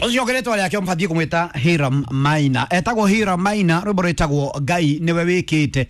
Ũcio rĩtwa rĩake mũbatiĩ kũmwĩta Hiram Maina, etagwo Hiram Maina, rwĩmbo rwĩtagwo Ngai nĩwe wĩkĩte,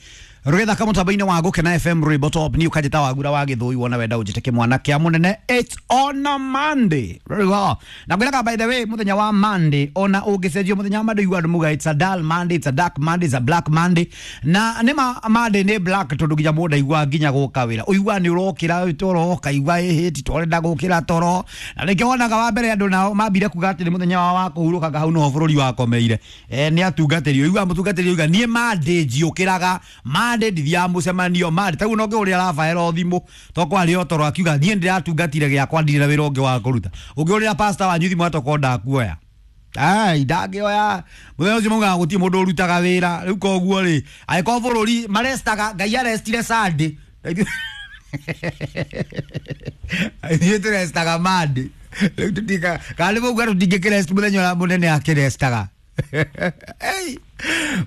rũgĩthaka mũtambo-inĩ wa Gũkena FM, rwĩmbo top ni ũkanjĩta Wagura wa Gĩthũi, wona wenda ũnjĩte kĩmwana kĩa mũnene. It's on a Monday. Very well. Na ngwĩraga, by the way, mũthenya wa Monday ona ũngĩcenjio mũthenya wa Monday, igua andũ muga it's a dull Monday, it's a dark Monday, it's a black Monday. Na nĩ ma Monday nĩ black, tondũ nginya mũndũ aigua nginya gũka wĩra ũigua nĩ ũrokĩra toro, ũkaigua ĩhĩ ti tũrenda gũkĩra toro. Na nĩkĩo wonaga wa mbere andũ nao mambire kuga atĩ nĩ mũthenya wao wa kũhurũkaga, hau noho bũrũri wakomeire. Nĩ atungatĩri ũigua mũtungatĩri ũiga niĩ Monday njiũkĩraga, Monday ndithiaga mũcemanio, Monday taguo no ngĩhũrĩra Rafael thimũ to kwarĩ o toro, akiuga niĩ ndĩratungatire gĩakwa, ndirĩ na wĩra ũngĩ wa kũruta. Ũngĩhũrĩra pastor wanyu thimũ atoko ndakuoya, ai ndangĩoya mũthenya ũcio, maugaga gũtirĩ mũndũ ũrutaga wĩra. Rĩu koguo rĩ, angĩkorwo bũrũri marestaga, Ngai arestire Sunday, ithuĩ tũrestaga Monday. Rĩu tũtika kana nĩ mauga tũtingĩkĩrest mũthenya ũrĩa mũnene akĩrestaga. Ei,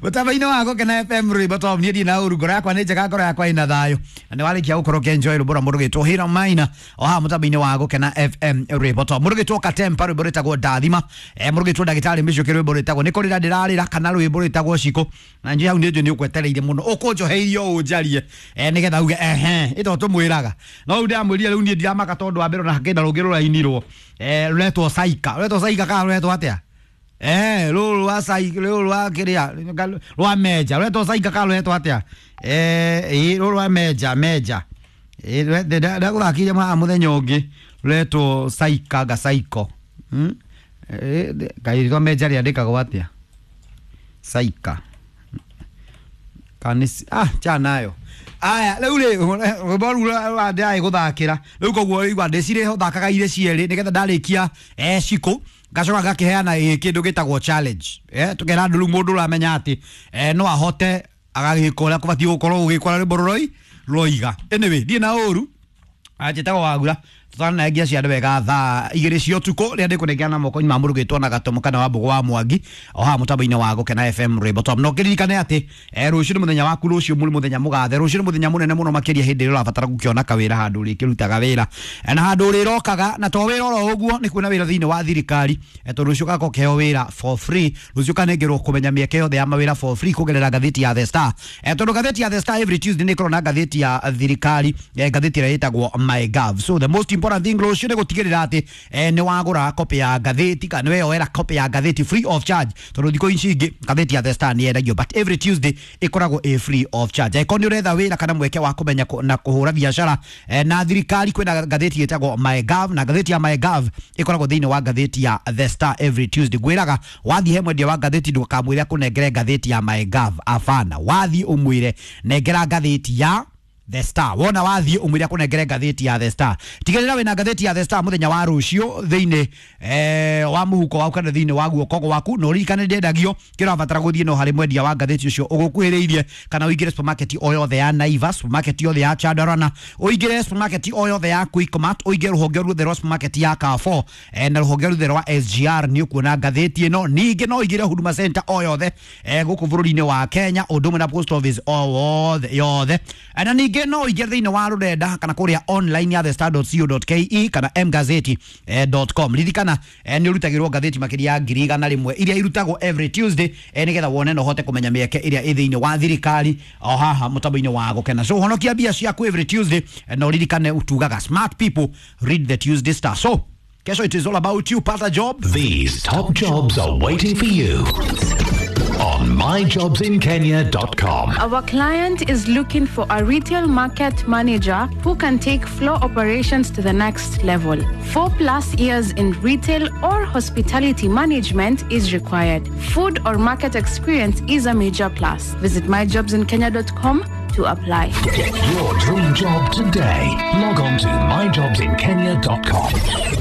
mũtambo-inĩ wa Gũkena FM, rwĩmbo top niĩ ndirĩ na ũru, ngoro yakwa nĩ njega, ngoro yakwa ĩna thayũ, na nĩ warĩkia gũkorwo ũkĩenjoy rwĩmbo rwa mũndũ gĩtwo Hiram Maina o haha mũtambo-inĩ wa Gũkena FM, rwĩmbo top. Mũndũ gĩtwo Katempa, rwĩmbo rwĩtagwo Ndathima. Mũndũ gĩtwo ndagĩtarĩ Mĩcuki, rwĩmbo rwĩtagwo nĩ kũrĩra ndĩrarĩra, kana rwĩmbo rwĩtagwo Cikũ. Na njĩ hau nĩ njũĩ nĩ ũkwetereire mũno ũkũnjoheirio ũnjarie, nĩgetha uge ehe ĩto tũmwĩraga. No rĩu ndĩramwĩrire, rĩu niĩ ndiramaka, tondũ wa mbere ona hakĩna rũngĩ rũrainirwo, rũretwo Saika, rũretwo Saika kana rũretwo atĩa? Rũrũ rwa sai, rũrũ rwa kĩrĩa rwa meja rũretwo Saika kana rũretwo atĩa? Ĩ rũrũ rwa meja meja ndagũthakire haha mũthenya ũngĩ, rũretwo Saika gasaiko. Kaĩ rĩtwa meja rĩandĩkagwo atĩa? Saika kanisi ah chanayo. Aya, rĩu rĩ, rwĩmbo rũu rwa ndĩraĩ gũthakĩra rĩu, koguo igua ndĩcirĩ thakaga irĩ cierĩ, nĩgetha ndarĩkia cikũ ngacoka ngakĩheana kĩndũ gĩtagwo challenge. Tũkera andũ rĩu mũndũ ũramenya atĩ no ahote agagĩka ũrĩa kũbatiĩ gũkorwo gũgĩkora rwĩmbo rũroi rũroiga. Anyway, ndiĩ na ũru, anjĩtagwo Wagura, tũtananengia ciana wega thaa 2 cia ũtukũ rĩrĩa ndĩkũnengera moko-inĩ ma mũndũ gĩtwo na Gatomo kana wa Mbũgũ wa Mwangi o haha mũtambo-inĩ wa Gũkena FM, rwĩmbo top. No kĩririkane atĩ rũciũ nĩ mũthenya waku, rũciũ nĩ mũthenya mũgathe, rũciũ nĩ mũthenya mũnene mũno makĩria hĩndĩ ĩrĩa ũrabatara gũkĩona kawĩra handũ ũrĩkĩrutaga wĩra, na handũ ũrĩrokaga na to wĩra oro ũguo, nĩ kuona wĩra thĩinĩ wa thirikari, tondũ rũciũ ũgakorwo ũkĩheo wĩra for free. Rũciũ ũkanengerwo kũmenya mĩeke yothe ya mawĩra for free kũgerera ngathĩti ya The Star, tondũ ngathĩti ya The Star every Tuesday nĩ ĩkoragwo na ngathĩti ya thirikari, ngathĩti ĩrĩa ĩtagwo MyGov. So the most important thing rũciũ nĩ gũtigĩrĩra atĩ nĩ wagũra copy ya ngathĩti kana nĩ weyoera copy ya ngathĩti free of charge, tondũ thikũ ici ingĩ ngathĩti ya The Star nĩ yendagio, but every Tuesday ĩkoragwo ĩ free of charge. Angĩkorwo nĩ ũretha wĩra kana mweke wa kũmenya na kũhũra biacara na thirikari, kwĩna ngathĩti ĩtagwo MyGov, na ngathĩti ya MyGov ĩkoragwo thĩinĩ wa ngathĩti ya The Star every Tuesday. Ngwĩraga wathiĩ he mwendia wa ngathĩti, ndũkamwĩre akũnengere ngathĩti ya MyGov, abana, wathiĩ ũmwĩre nengera ngathĩti ya The Star. Wona wathiĩ ũmwĩre akũnengere ngathĩti ya The Star. Tigĩrĩra wĩna ngathĩti ya The Star mũthenya wa rũciũ thĩinĩ wa mũhuko waku kana thĩinĩ wa guoko gwaku, na ũririkane ndĩendagio, kĩrabatara gũthiĩ no harĩ mwendia wa ngathĩti ũcio ũgũkuhĩrĩirie, kana ũingĩre supermarket o yothe ya Naivas, supermarket yothe ya Chandarana, ũingĩre supermarket o yothe ya Quickmart, ũingĩre rũhonge ruothe rwa supermarket ya Carrefour, na rũhonge ruothe rwa SGR, nĩ ũkuona ngathĩti ĩno. Ningĩ no ũingĩre Huduma Center o yothe gũkũ bũrũri-inĩ wa Kenya, ũndũ ũmwe na post office o wothe yothe. Na ningĩ no ũingĩre thĩinĩ wa rũrenda kana kũrĩa online ya thestar.co.ke kana mgazeti.com. Ririkana nĩ ũrutagĩrwo ngathĩti makĩria ya 100,000 iria irutagwo every Tuesday, nĩgetha wone na ũhote kũmenya mĩeke ĩrĩa ĩ thĩinĩ wa thirikari o haha mũtambo-inĩ wa Gũkena. So honokia mbia ciaku every Tuesday, na ũririkane utugaga smart people read the Tuesday Star. So kesho it is all about you, pata job. These top jobs are waiting for you on myjobsinkenya.com. Our client is looking for a retail market manager who can take floor operations to the next level. 4+ years in retail or hospitality management is required. Food or market experience is a major plus. Visit myjobsinkenya.com to apply. Get your dream job today. Log on to myjobsinkenya.com.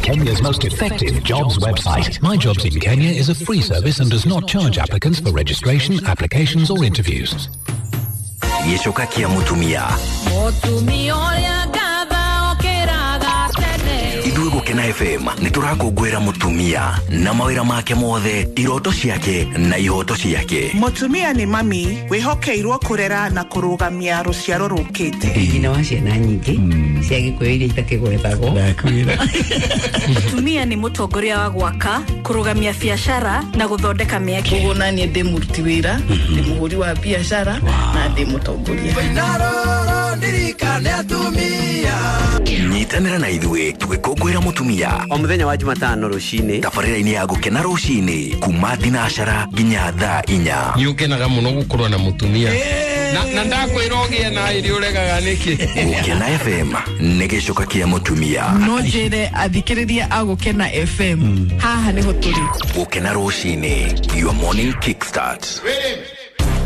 Kenya's most effective jobs website. My Jobs in Kenya is a free service and does not charge applicants for registration, applications, or interviews. Gĩcoka kĩa mũtumia. Mũtumia ũrĩa ngatha okĩraga tene. Ithuĩ Gũkena Gũkena FM nĩ tũrakũngũĩra mũtumia na mawĩra make mothe, iroto ciake na ihoto ciake. Mũtumia nĩ mami wĩhokeirwo kũrera na kũrũgamia rũciaro rũkĩte. Nyina wa ciana nyingĩ cia gĩkũyũ iria itakĩgwetagwo. Mũtumia nĩ mũtongoria wa gwaka, kũrũgamia biacara na gũthondeka mĩeke. Koguo naniĩ ndĩ mũruti wĩra, ndĩ mũhũri wa biacara na ndĩ mũtongoria. Nyitanĩra na ithuĩ tũgĩkũngũĩra mũtumia O mũthenya wa Jumatano rũcinĩ. Tabarĩra-inĩ ya Gũkena rũcinĩ kuma thinacara nginya thaa 4. Nĩ ũkenaga mũno gũkorwo na mũtumia na ndakwĩra ũgĩe na ĩrĩ ũregaga nĩkĩ. Gũkena FM nĩ gĩcoka kĩa mũtumia. No njĩre athikĩrĩria a Gũkena FM haha nĩho tũrĩ. Gũkena rũcinĩ, your morning kickstart.